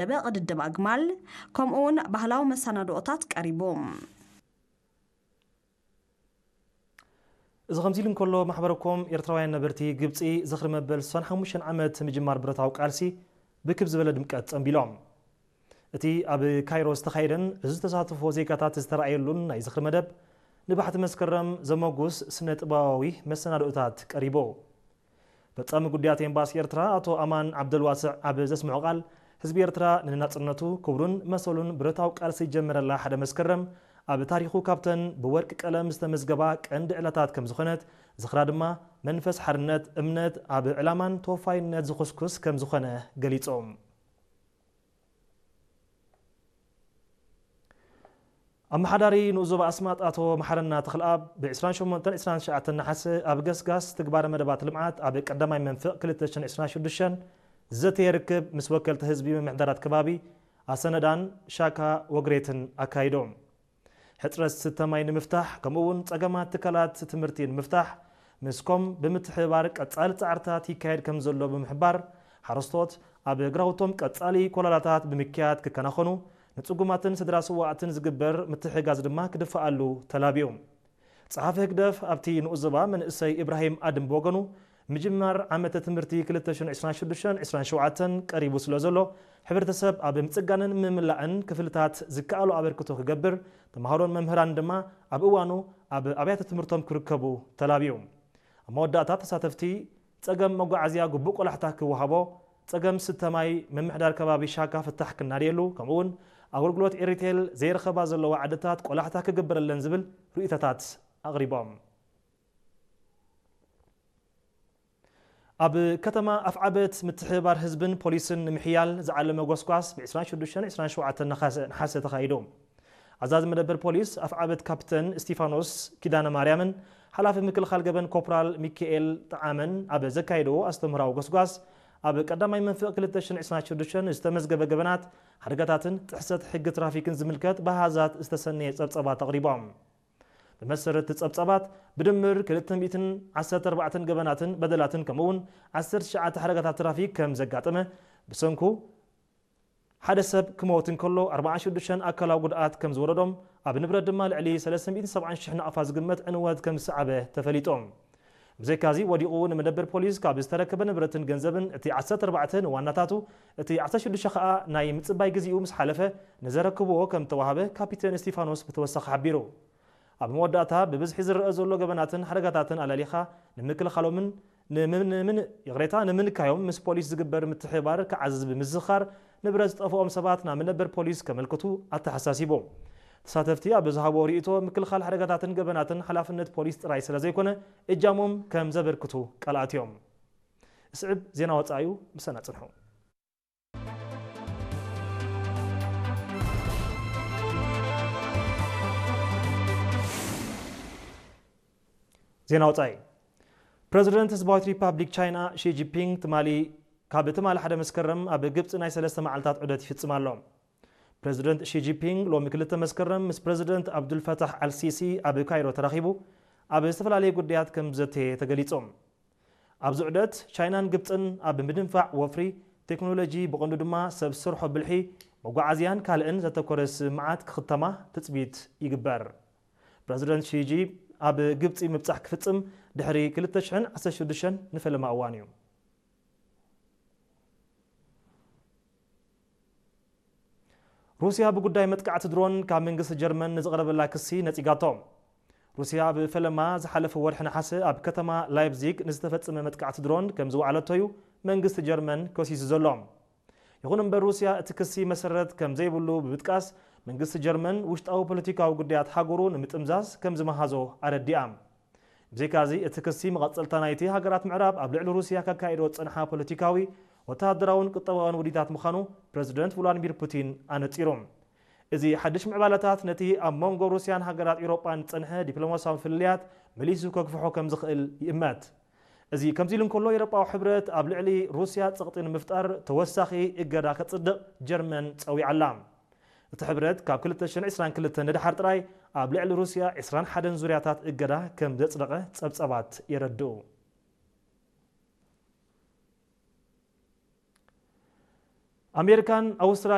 ደበ ቅድድም ኣግማል፣ ከምኡውን ባህላዊ መሰናድኦታት ቀሪቡ። እዚ ከምዚ ኢሉ እንከሎ፣ ማሕበረኮም ኤርትራውያን ነበርቲ ግብጺ ዝኽሪ መበል ስሳን ሓሙሽተን ዓመት ምጅማር ብረታዊ ቃልሲ ብክብ ዝበለ ድምቀት ጸንቢሎም። እቲ ኣብ ካይሮ ዝተኻየደን እዚ ተሳትፎ ዜጋታት ዝተራእየሉን ናይ ዝኽሪ መደብ፣ ንባሕቲ መስከረም ዘመጉስ ስነ ጥበባዊ መሰናድኦታት ቀሪቡ። ፈጻሚ ጉዳያት ኤምባሲ ኤርትራ ኣቶ ኣማን ዓብደልዋስዕ ኣብ ዘስምዖ ቃል፣ ህዝቢ ኤርትራ ንናጽነቱ ክብሩን መሰሉን ብረታዊ ቃልሲ ዝጀመረላ ሓደ መስከረም ኣብ ታሪኹ ካብተን ብወርቂ ቀለም ዝተመዝገባ ቀንዲ ዕለታት ከም ዝኾነት፣ ዝኽራ ድማ መንፈስ ሓርነት፣ እምነት ኣብ ዕላማን ተወፋይነት ዝኹስኩስ ከም ዝኾነ ገሊጾም። ኣመሓዳሪ ንኡስ ዞባ ኣስማጥ ኣቶ መሓረና ተኽለኣብ ብ ዕስራን ሸሞንተን ዕስራን ትሽዓተን ነሓሰ ኣብ ገስጋስ ትግባረ መደባት ልምዓት ኣብ ቀዳማይ መንፍቕ ክልተ ሽሕን ዕስራን ሽዱሽተን ዝዘተየ ርክብ ምስ ወከልቲ ህዝቢ ምምሕዳራት ከባቢ ኣሰነዳን ሻካ ወግሬትን ኣካይዶም። ሕጽረት ስተ ማይ ንምፍታሕ፣ ከምኡ እውን ጸገማት ትካላት ትምህርቲ ንምፍታሕ፣ ምስኮም ብምትሕብባር ቀጻሊ ጻዕርታት ይካየድ ከም ዘሎ ብምሕባር፣ ሓረስቶት ኣብ ግራውቶም ቀጻሊ ኮላላታት ብምክያድ ክከናኸኑ፣ ንጽጉማትን ስድራ ስዋእትን ዝግበር ምትሕጋዝ ድማ ክድፈኣሉ ተላቢዩ። ጸሓፊ ህግደፍ ኣብቲ ንኡስ ዞባ መንእሰይ ኢብራሂም ኣድም ብወገኑ፣ ምጅማር ዓመተ ትምህርቲ ክልተ ሽሕን ዕስራን ሽዱሽተን ዕስራን ሸውዓተን ቀሪቡ ስለ ዘሎ፣ ሕብረተሰብ ኣብ ምጽጋንን ምምላእን ክፍልታት ዝከኣሎ ኣበርክቶ ክገብር፣ ተምሃሮን መምህራን ድማ ኣብ እዋኑ ኣብ ኣብያተ ትምህርቶም ክርከቡ ተላብዩ። ኣብ መወዳእታ ተሳተፍቲ፣ ጸገም መጓዓዝያ ግቡእ ቆላሕታ ክወሃቦ፣ ጸገም ስተ ማይ ምምሕዳር ከባቢ ሻካ ፍታሕ ክናድየሉ፣ ከምኡውን ኣገልግሎት ኤሪቴል ዘይረኸባ ዘለዋ ዓድታት ቆላሕታ ክግበረለን ዝብል ርእይቶታት ኣቕሪቦም። ኣብ ከተማ ኣፍዓበት ምትሕብባር ህዝብን ፖሊስን ንምሕያል ዝዓለመ ጎስጓስ ብ ዕስራን ሽዱሽተን ዕስራን ሸውዓተን ነሓሰ፣ ነሓሰ ተኻይዱ። ኣዛዚ መደበር ፖሊስ ኣፍዓበት ካፕተን እስቲፋኖስ ኪዳነ ማርያምን ሓላፊ ምክልኻል ገበን ኮፕራል ሚካኤል ጠዓመን ኣብ ዘካየድዎ ኣስተምህራዊ ጎስጓስ፣ ኣብ ቀዳማይ መንፍቕ ክልተ ሽሕን ዕስራን ሽዱሽተን ዝተመዝገበ ገበናት፣ ሓደጋታትን ጥሕሰት ሕጊ ትራፊክን ዝምልከት ብኣሃዛት ዝተሰነየ ጸብጸባት ኣቕሪቦም። ብመሰረት እቲ ጸብጻባት፣ ብድምር ክልተ ሚእትን ዓሰርተ ኣርባዕተን ገበናትን በደላትን ከምኡውን ዓሰርተ ትሽዓተ ሓደጋታት ትራፊክ ከም ዘጋጠመ፣ ብሰንኩ ሓደ ሰብ ክመውት እንከሎ፣ ኣርባዓን ሽዱሽተን ኣካላዊ ጉድኣት ከም ዝወረዶም፣ ኣብ ንብረት ድማ ልዕሊ ሰለስተ ሚእትን ሰብዓን ሽሕ ናቕፋ ዝግመት ዕንወት ከም ዝሰዓበ ተፈሊጦም። ብዘይካዚ፣ ወዲቑ ንመደበር ፖሊስ ካብ ዝተረከበ ንብረትን ገንዘብን፣ እቲ ዓሰርተ ኣርባዕተ ንዋናታቱ፣ እቲ ዓሰርተ ሽዱሽተ ከኣ ናይ ምጽባይ ግዜኡ ምስ ሓለፈ ንዘረክብዎ ከም ዝተዋህበ ካፒቴን እስቲፋኖስ ብተወሳኺ ሓቢሩ። ኣብ መወዳእታ፣ ብብዝሒ ዝረአ ዘሎ ገበናትን ሓደጋታትን ኣለሊኻ ንምክልኻሎምን ንምን-፣ ምን-፣ ይቕሬታ፣ ንምንካዮም ምስ ፖሊስ ዝግበር ምትሕብባር ክዓዝዝ ብምዝኽኻር፣ ንብረት ዝጠፍኦም ሰባት ናብ መደበር ፖሊስ ከመልክቱ ኣተሓሳሲቡ። ተሳተፍቲ ኣብ ዝሃብዎ ርእይቶ፣ ምክልኻል ሓደጋታትን ገበናትን ሓላፍነት ፖሊስ ጥራይ ስለ ዘይኮነ፣ እጃሞም ከም ዘበርክቱ ቃል ኣትዮም። ስዕብ ዜና ወጻኢ እዩ፣ ምሳና ጽንሑ። ዜና ወጻኢ። ፕረዚደንት ህዝባዊት ሪፓብሊክ ቻይና ሺ ጂንፒንግ ትማሊ፣ ካብ ትማሊ ሓደ መስከረም ኣብ ግብጺ ናይ ሰለስተ መዓልታት ዑደት ይፍጽም ኣሎ። ፕረዚደንት ሺ ጂንፒንግ ሎሚ ክልተ መስከረም ምስ ፕረዚደንት ኣብዱልፈታሕ ኣልሲሲ ኣብ ካይሮ ተራኺቡ ኣብ ዝተፈላለዩ ጉዳያት ከም ዘተየ ተገሊጹ። ኣብዚ ዑደት፣ ቻይናን ግብጽን ኣብ ምድንፋዕ ወፍሪ፣ ቴክኖሎጂ፣ ብቐንዱ ድማ ሰብ ሰርሖ ብልሒ፣ መጓዓዝያን ካልእን ዘተኮረ ስምምዓት ክኽተማ ትጽቢት ይግበር። ፕረዚደንት ሺ ጂ ኣብ ግብጺ ምብጻሕ ክፍጽም ድሕሪ ክልተ ሽሕን ዓሰርተ ሽዱሽተን ንፈለማ እዋን እዩ። ሩስያ ብጉዳይ መጥቃዕቲ ድሮን ካብ መንግስቲ ጀርመን ንዝቐረበላ ክሲ ነጺጋቶ። ሩስያ ኣብ ፈለማ ዝሓለፈ ወርሒ ነሓሰ ኣብ ከተማ ላይፕዚግ ንዝተፈጸመ መጥቃዕቲ ድሮን ከም ዝወዓለቶ እዩ መንግስቲ ጀርመን ከሲሱ ዘሎ። ይኹን እምበር፣ ሩስያ እቲ ክሲ መሰረት ከም ዘይብሉ ብምጥቃስ፣ መንግስቲ ጀርመን ውሽጣዊ ፖለቲካዊ ጉዳያት ሃገሩ ንምጥምዛዝ ከም ዝመሃዞ ኣረዲኣ። ብዘይካዚ፣ እቲ ክሲ መቐጸልታ ናይቲ ሃገራት ምዕራብ ኣብ ልዕሊ ሩስያ ከካይዶ ዝጸንሓ ፖለቲካዊ፣ ወተሃደራውን ቁጠባውን ውዲታት ምዃኑ ፕረዚደንት ቭላድሚር ፑቲን ኣነጺሩ። እዚ ሓድሽ ምዕባለታት ነቲ ኣብ መንጎ ሩስያን ሃገራት ኤውሮጳን ዝጸንሐ ዲፕሎማስያዊ ፍልልያት መሊሱ ከግፍሖ ከም ዝኽእል ይእመት። እዚ ከምዚ ኢሉ እንከሎ፣ ኤውሮጳዊ ሕብረት ኣብ ልዕሊ ሩስያ ጸቕጢ ንምፍጣር ተወሳኺ እገዳ ከጽድቕ ጀርመን ጸዊዓ ኣላ። እቲ ሕብረት ካብ ክልተ ሽሕን ዕስራን ክልተን ንደሓር ጥራይ ኣብ ልዕሊ ሩስያ ዕስራን ሓደን ዙርያታት እገዳ ከም ዘጽደቐ ጸብጻባት የረድኡ። ኣሜሪካን ኣውስትራልያን